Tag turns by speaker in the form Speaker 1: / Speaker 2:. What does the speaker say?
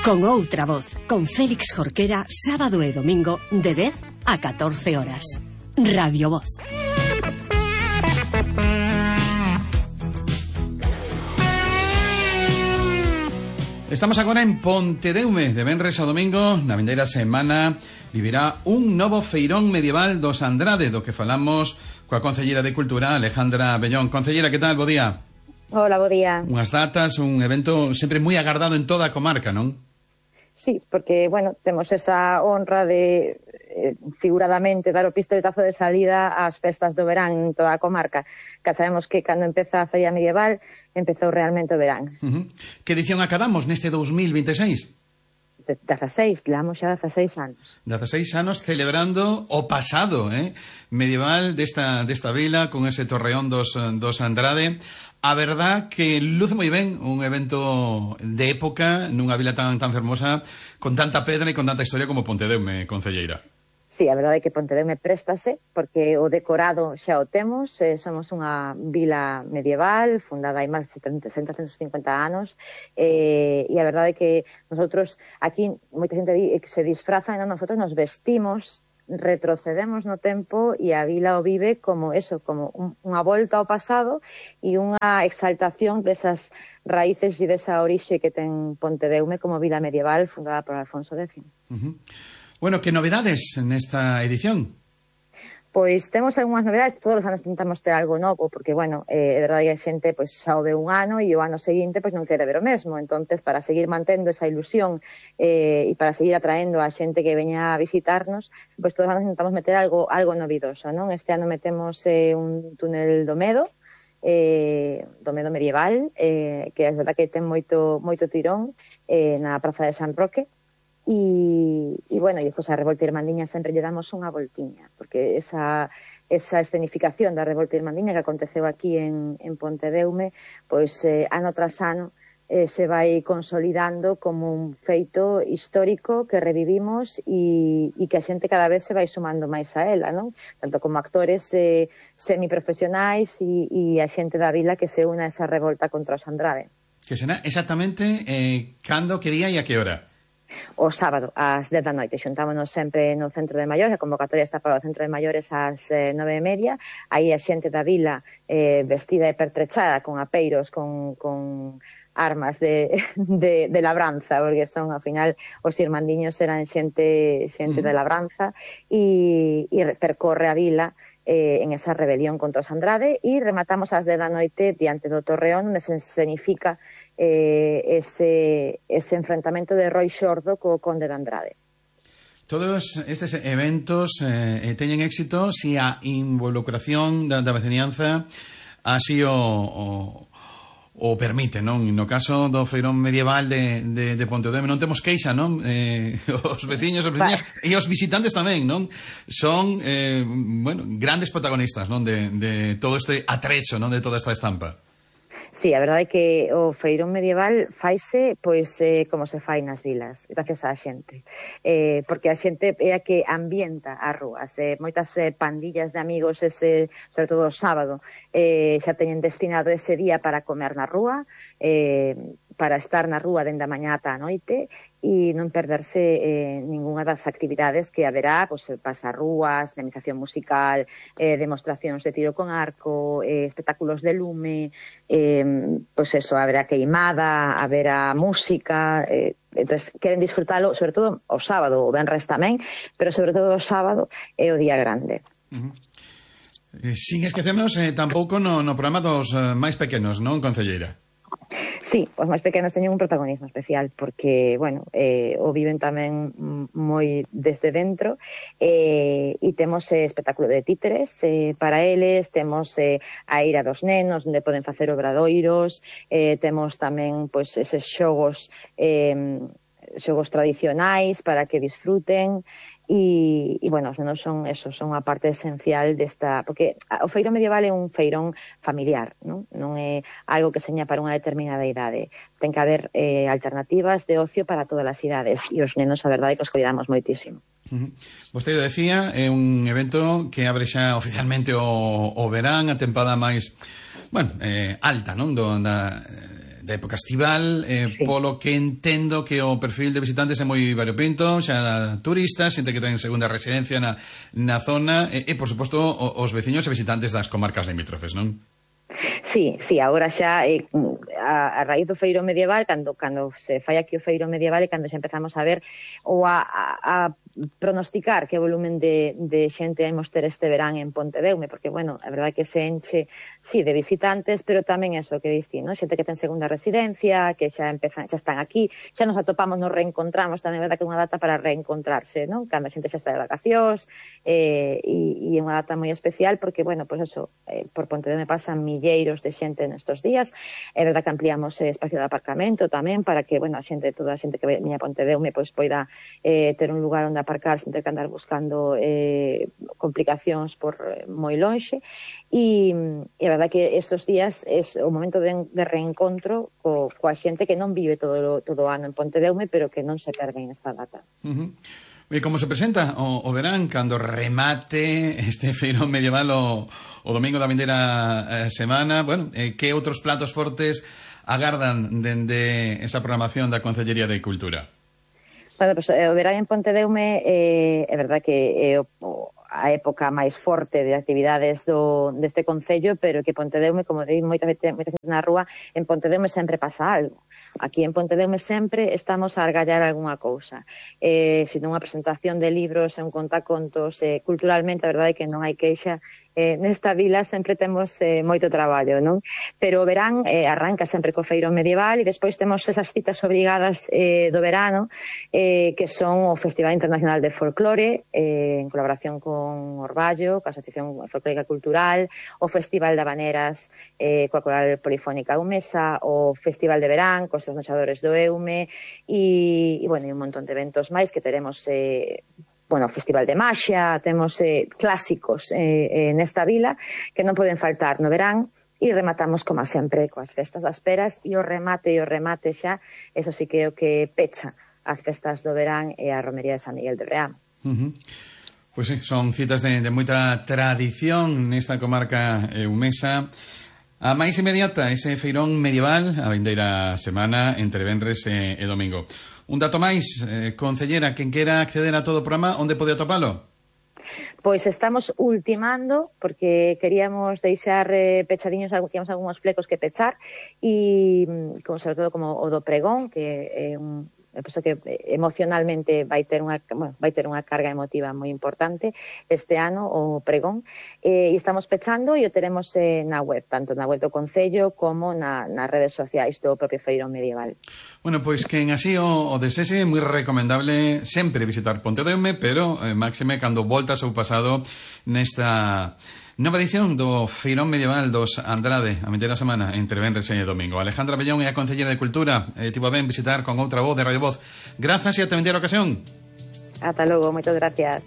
Speaker 1: Con outra voz, con Félix Jorquera, sábado e domingo, de 10 a 14 horas. Radio Voz.
Speaker 2: Estamos agora en Pontedeume. De venres a domingo, na vindeira semana, vivirá un novo feirón medieval dos Andrade, do que falamos coa Concelleira de Cultura, Alejandra Bellón. Concelleira, que tal? Bo día.
Speaker 3: Hola, bo día.
Speaker 2: Unhas datas, un evento sempre moi agardado en toda a comarca, non?
Speaker 3: Sí, porque, bueno, temos esa honra de, figuradamente, dar o pistoletazo de salida ás festas do verán en toda a comarca. Que sabemos que cando empeza a feria medieval, empezou realmente o verán.
Speaker 2: Que edición acadamos neste 2026?
Speaker 3: 16, levamos xa 16 anos.
Speaker 2: 16 anos celebrando o pasado medieval desta vila, con ese torreón dos Andrade. A verdad que luce moi ben un evento de época nunha vila tan fermosa, con tanta pedra e con tanta historia como Pontedeume, concelleira.
Speaker 3: Sí, a verdade é que Pontedeume préstase, porque o decorado xa o temos, somos unha vila medieval, fundada hai máis de 150 anos, e a verdade é que nosotros, aquí, moita xente di que se disfrazan, e nosotros nos vestimos, retrocedemos no tempo e a vila o vive como eso, como unha volta ao pasado e unha exaltación desas raíces e desa orixe que ten Pontedeume como vila medieval fundada por Alfonso X.
Speaker 2: Bueno, que novedades nesta edición?
Speaker 3: Pois temos algunhas novedades, todos os anos tentamos ter algo novo, porque, bueno, é verdade que a xente pois, xa o ve un ano e o ano seguinte pois, non quere ver o mesmo. Entonces, para seguir mantendo esa ilusión e para seguir atraendo a xente que veña a visitarnos, pois todos os anos tentamos meter algo novidoso, non? Este ano metemos un túnel do medo medieval, que é verdade que ten moito tirón na Praza de San Roque. E bueno, e pois a Revolta Irmandiña sempre lle damos unha voltiña, porque esa escenificación da Revolta Irmandiña que aconteceu aquí en Pontedeume, pois ano tras ano se vai consolidando como un feito histórico que revivimos e que a xente cada vez se vai sumando máis a ela, non? Tanto como actores semiprofesionais e a xente da vila que se una a esa revolta contra os Andrade.
Speaker 2: Que será exactamente cando, que día e a que hora?
Speaker 3: O sábado, ás 10 da noite. Xuntámonos sempre no Centro de Maiores, a convocatoria está para o Centro de Maiores ás 9:30. Aí a xente da vila vestida e pertrechada con apeiros, con armas de labranza, porque son, ao final, os irmandiños eran xente de labranza e percorre a vila en esa rebelión contra os Andrade e rematamos ás 10 da noite diante do Torreón, onde se escenifica ese enfrentamento de Roi Xordo co Conde de Andrade.
Speaker 2: Todos estes eventos teñen éxito se a involucración da veciñanza así o permite, non? No caso do feirón medieval de Pontedeume non temos queixa, non? Os veciños e os visitantes tamén, non? Son, grandes protagonistas, non? De todo este atrecho, non? De toda esta estampa.
Speaker 3: Sí, a verdade é que o feirón medieval faise pois como se fai nas vilas, gracias á xente. Porque a xente é a que ambienta as rúas. Moitas pandillas de amigos, sobre todo o sábado, xa teñen destinado ese día para comer na rúa, para estar na rúa dende a mañá ata a noite e non perderse ningunha das actividades que haberá, pois, pasarrúas, dinamización musical, demostracións de tiro con arco, espectáculos de lume, pois eso, haberá queimada, haberá música, entonces queren disfrutalo, sobre todo o sábado, o venres tamén, pero sobre todo o sábado é o día grande.
Speaker 2: Sin esquecernos tampouco no programa dos máis pequenos, non, concelleira?
Speaker 3: Sí, os máis pequenos teñen un protagonismo especial porque, bueno, o viven tamén moi desde dentro e temos espectáculo de títeres para eles, temos a ira dos nenos onde poden facer obradoiros, temos tamén pois eses xogos tradicionais para que disfruten e bueno, os nenos son a parte esencial desta, porque o feirón medieval é un feirón familiar, non é algo que seña para unha determinada idade, ten que haber alternativas de ocio para todas as idades e os nenos a verdade que os cuidamos moitísimo.
Speaker 2: Vostede decía, é un evento que abre xa oficialmente o verán, a tempada máis alta, non? da época estival,
Speaker 3: Sí.
Speaker 2: polo que entendo que o perfil de visitantes é moi variopinto, xa turistas, xente que ten segunda residencia na zona, e por suposto, os veciños e visitantes das comarcas limítrofes, non?
Speaker 3: Sí, agora xa a raíz do feiro medieval, cando se fai aquí o feiro medieval e cando xa empezamos a ver ou a pronosticar que volumen de xente imos ter este verán en Pontedeume, porque, bueno, a verdade que se enche, sí, de visitantes, pero tamén eso que diste, ¿no? Xente que ten segunda residencia, que xa están aquí, xa nos atopamos, nos reencontramos, tamén é verdade que é unha data para reencontrarse, ¿no? Cando a xente xa está de vacacións, e é unha data moi especial, porque, bueno, pues eso, por Pontedeume pasan milleiros de xente nestos días, é verdade que ampliamos espacio de aparcamento tamén, para que, bueno, toda a xente que veña a Pontedeume, pois poida ter un lugar onde aparcar sen ter que andar buscando complicacións por moi lonxe, e a verdade que estes días é o momento de reencontro coa xente que non vive todo o ano en Pontedeume, pero que non se perden esta data.
Speaker 2: E como se presenta o verán cando remate este feirón medieval o domingo da vindeira semana? Bueno, que outros platos fortes agardan dende esa programación da Concellería de Cultura?
Speaker 3: Bueno, pues, o verán en Pontedeume é verdade que é a época máis forte de actividades deste concello, pero que Pontedeume, como digo moita xente na rúa, en Pontedeume sempre pasa algo. Aquí en Pontedeume sempre estamos a argallar algunha cousa. Se non unha presentación de libros, un contacontos, culturalmente, a verdade é que non hai queixa. Nesta vila sempre temos moito traballo, non? Pero o verán arranca sempre co feiro medieval e despois temos esas citas obrigadas do verano, que son o Festival Internacional de Folclore, en colaboración con Orballo, coa Asociación Folclórica Cultural, o Festival de Habaneras coa Coral Polifónica Eumesa, o Festival de Verán, cos Nochadores do Eume, e bueno, un montón de eventos máis que teremos o Festival de Maxia, temos clásicos nesta vila que non poden faltar no verán, e rematamos como sempre coas festas das peras, e o remate xa, eso sí que é o que pecha as festas do verán e a romería de San Miguel de Breán.
Speaker 2: Pois sí, son citas de moita tradición nesta comarca eumesa. A máis inmediata, ese feirón medieval a vindeira semana entre venres e domingo. Un dato máis, concellera, quen quera acceder a todo o programa, onde pode atopalo?
Speaker 3: Pois estamos ultimando, porque queríamos deixar pechadiños, tínhamos algúns flecos que pechar, e sobre todo como o do pregón, que é penso que emocionalmente vai ter unha carga emotiva moi importante este ano, o pregón, e estamos pechando e o teremos na web, tanto na web do Concello como nas redes sociais do propio feirón medieval.
Speaker 2: Bueno, pois que en así o desese, moi recomendable sempre visitar Pontedeume, pero máxime cando voltas ao pasado nesta nova edición do feirón medieval dos Andrade a vindeira semana entre venres e domingo. Alejandra Bellón é a Concellera de Cultura, tivo ben visitar con outra voz de Radio Voz. Grazas e ata vindeira ocasión.
Speaker 3: Ata logo, moitas gracias.